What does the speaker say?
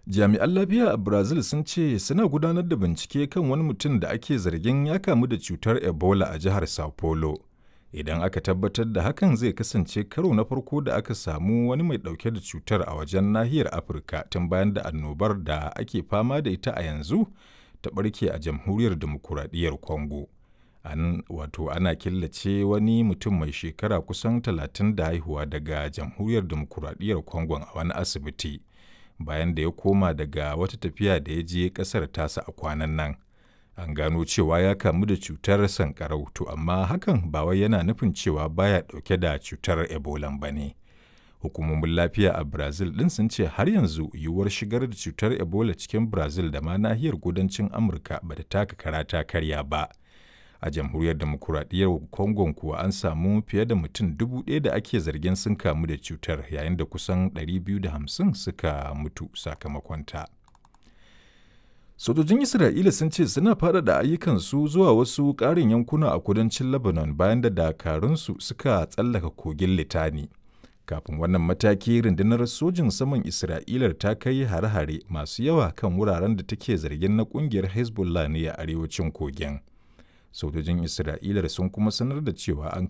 Jami'an lafiya a Brazil sun ce suna gudanar da bincike kan wani mutum da ake zargin ya kamu da cutar Ebola a jihar Sao Paulo. Idan aka tabbatar da hakan, zai kasance karo na farko da aka samu wani mai ɗauke da cutar a wajen nahiyar Afirka tun bayan da annobar da ake fama da ita a yanzu ta ɓarke a Jamhuriyar Dimokuraɗiyyar Congo. An wato ana killace wani mutum mai shekara kusan 30 da haihuwa daga Jamhuriyar Dimokuraɗiyyar Congo a wani asibiti, bayan da ya koma daga wata tafiya da ya je ƙasar tasa a kwanan nan. An gano cewa ya kamu da cutar sankarau, to amma hakan ba wai yana nufin cewa baya ɗauke da cutar Ebola ba ne. Hukumomin lafiya a Brazil ɗin sun ce har yanzu yiwuwar shigar da cutar Ebola cikin Brazil da ma nahiyar kudancin Amurka ba ta taka kara ta karya ba. A Jamhuriyar Demokuraɗiyyar Congo kuwa, an samu fiye da mutum 1,000 da ake zargin sun kamu da cutar, yayin da kusan 250 suka mutu sakamakonta. Sojojin Isra'ila sun ce suna faɗaɗa ayyukansu zuwa wasu ƙarin yankuna a kudancin Lebanon bayan da dakarunsu suka tsallaka kogin Litani. Kafin wannan mataki, rundunar sojin saman Isra'ilar ta kai hare-hare masu yawa kan wuraren da take zargin na ƙungiyar Hezbollah ne a arewacin kogin. Sojojin Isra'ilar sun kuma sanar da cewa an